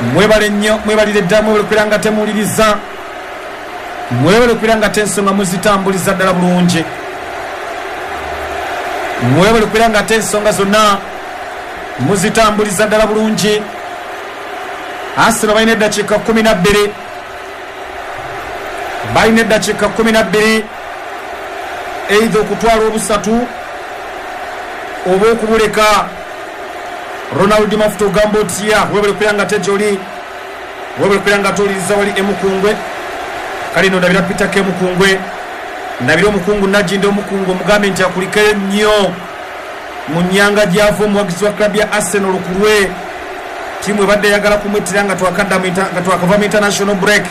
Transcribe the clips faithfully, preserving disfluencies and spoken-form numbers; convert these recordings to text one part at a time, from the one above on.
Mwebale nnyo, mwebalire ddala, mwebale okubeera nga temuwuliriza, mwebale okubeera nga tensonga muzitambuliza ddala bulungi, mwebale okubeera nga tensonga zonna muzitambuliza ddala bulungi. Arsenal balina eddakiika kumi na bbiri, balina eddakiika kumi na bbiri eitha okutwala obusatu oba okubuleka. Ronald Mafuta ogamba otya? Webale okubeera nga tejoli, webale okubeera nga towuliriza wali emukungwe. Kale no ndabira Peter Kemukungwe, ndabira omukungu Najinda omukungu, omugambe nti akulikeyo nnyo mu nnyanga gy'ava omuwagizi wa club ya Arsenal lukulwe. Ttiimu ebadde eyagala kumwettira nga twakadda mu inter- nga twakava mu international break.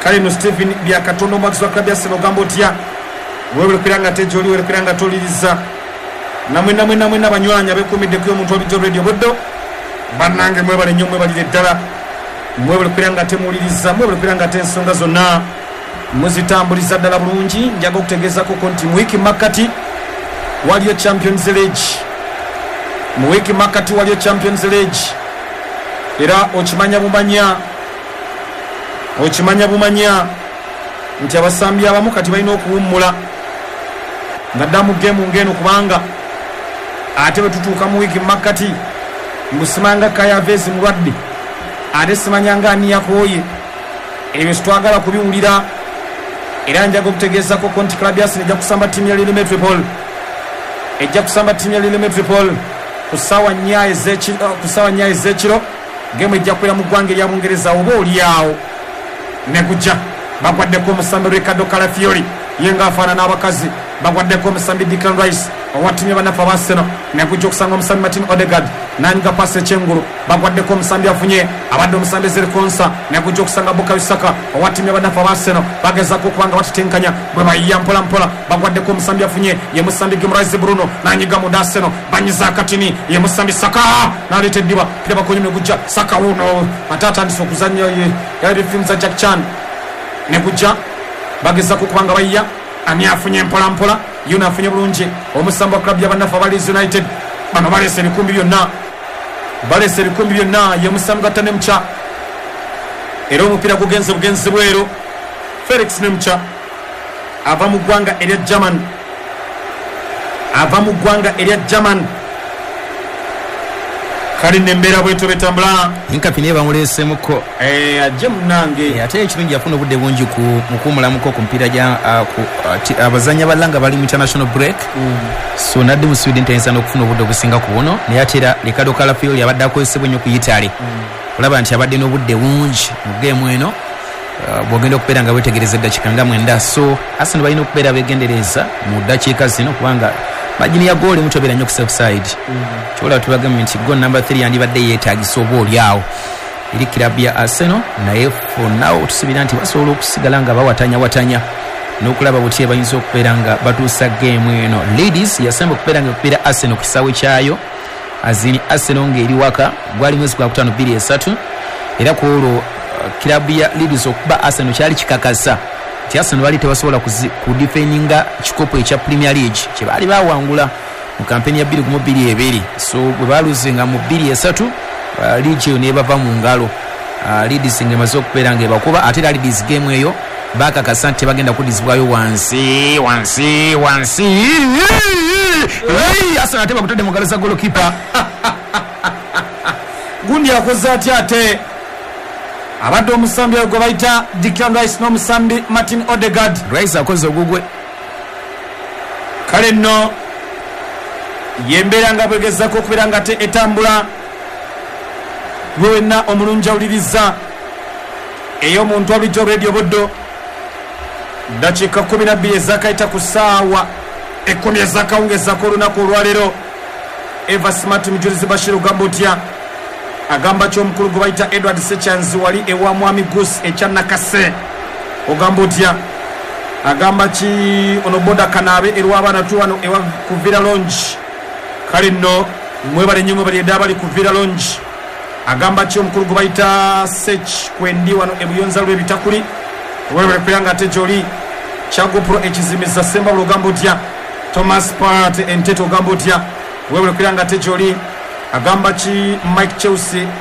Kale no Stephen Byakatonda omuwagizi wa club ya Arsenal ogamba otya? Webale okubeera nga tejoli, webale okubeera nga towuliriza. Namwe namwe namwe nabanywanyi abekuumiddeko omuntu wabijjo Radio Buddo, bannange mwebale nnyo, mwebalire ddala, mwebale okubeera nga temuwuliriza, mwebale okubeera nga ensonga zonna muzitambuliza ddala bulungi. Njaga okutegeezakoko nti mu wiiki makkati waliyo Champions League, mu wiiki makkati waliyo Champions League, era okimanya bumanya, okimanya bumanya nti abasambi abamu kati balina okuwummula nga dda mu geemu ng'eno, kubanga ate bwe tutuuka mu wiiki makkati mbusimanga Kayavezi mulwadde, ate simanyanga ani yakooye. Ebyo sitwagala kubiwulira. Era njaga okutegeezako nti club ya Arsenal ejja kusamba ttiimu ya Lille Metropole, ejja kusamba ttiimu ya Lille Metropole ku ssaawa nnya ez'ekiro, ku ssaawa nnya ez'ekiro. Geemu ejja kubeera mu ggwanga erya Bungereza. Oba oli awo ne gujja bagwaddeko omusambi Ricardo Calafiori, ye ng'afaanana abakazi. Bagwaddeko omusambi Declan Rice owa ttiimu y'abannaffe aba Arsenal, negujja okusanga omusambi Martin Odegaard nanyiga pasi ekyengulu. Bagwaddeko omusambi afunye, abadde omusambi Ezri Konsa, negujja okusanga Bukayo Saka owa ttiimu y'abannaffe aba Arsenal. Bagezaako okuba nga batetenkanya bwe bayiya mpola mpola. Bagwaddeko omusambi afunye, ye musambi Guimaraes Bruno, nanyiga munda. Arsenal banyiza akatini, ye musambi Saka naleeta eddiba pira bakonye, negujja Saka wuno ate atandise okuzannya yali firimu za Jack Chan. Negujja bagezako okuba nga bayiya. Ani afunye mpola mpola? Yuno afunye bulungi omusambi wa club y'abannaffe aba Leeds United. Bano baleese ebikumbi byonna, baleese ebikumbi byonna. Ye musambi gatta Nemcha, era omupiira gugenze bugenzi bweru. Felix Nemcha ava mu ggwanga erya German, ava mu ggwanga erya German. Kale nembeera bwetyo betambula. Inkapi naye bamuleesemuko. Eh, ajje munange. Ate ekirungi yafuna obudde bungi ku mukuwumulamuko ku mupiira gya ah, ku, ah, ti- abazannyi abalala nga bali mu international break, so nadde mu Sweden tayinza n'okufuna obudde obusinga ku buno. Naye ate era Ricardo Calafiori abadde akozesebwa ennyo ku Italy, olaba nti abadde n'obudde bungi mu geemu eno. Uh, bw'ogenda okubeera nga wetegereza eddakiika nga mwenda, so Arsenal balina okubeera begendereza mu ddakiika zino, kubanga margin ya goal mutobeera nnyo ku safe side. Kyobola tubagambye nti goal number three yandibadde yeetagisa oba oli awo eri kirabu ya Arsenal, naye for now tusuubira nti basobola okusigala nga bawatanyawatanya n'okulaba butya bayinza okubeera nga batuusa geemu eno. Leeds yasemba okubeera nga ekubeera Arsenal ku kisaawe kyayo, azini Arsenal ng'eri waka, gwali mwezi gwa kutaano bbiri esatu. Era ku olwo uh, kirabu ya Leeds okuba Arsenal kyali kikakasa nti Arsenal baali tebasobola kuzi- kudefendinga kikopo ekya Premier League kye baali bawangula mu kampeni ya bbiri gumu bbiri ebiri. So bwe baluzinga mu bbiri esatu, uh, league eyo nebava mu ngalo. uh, Leeds ng'emaze okubeera ng'ebakuba. Ate era Leeds game eyo bakakasa nti tebagenda kuddizibwayo wansi wansi wansi. Arsenal ate bakutadde mu ngalo za golokipa. Gundi akoze atya? Ate abadde omusambi oyo gwe bayita Declan Rice n'omusambi Martin Odegaard. Rice akoze ogugwe. Kale nno yembeera nga bwegezako okubeera nga te etambula. Gwe wenna omulungi awuliriza ey'omuntu abulijjo Radio Buddo, dakiika kumi na bbiri ezakayita ku ssaawa ekkumi ezakawungezako olunaku olwaleero. Eva Smart Mujulizi Bashir ogamba otya? Agamba ki omukulu gwe bayita Edward Sechanzi wali ewa Mwami Gus ekya Nakase? Ogamba otya? Agamba ki ono boda kanaabe erwabaana tu wano ewa ku Villa Longe? Kale nno mwebale nnyo, mwebale edda abali ku Villa Longe. Agamba ki omukulu gwe bayita Sech kwendi wano ebuyonza lw'ebitakuli? Webale kubeera nga ate gyoli. Kyagopro ekizimiza Sembabula ogamba otya? Thomas Part Entete ogamba otya? Webale kubeera nga ate gyoli. Agamba ki Mike Chelsea?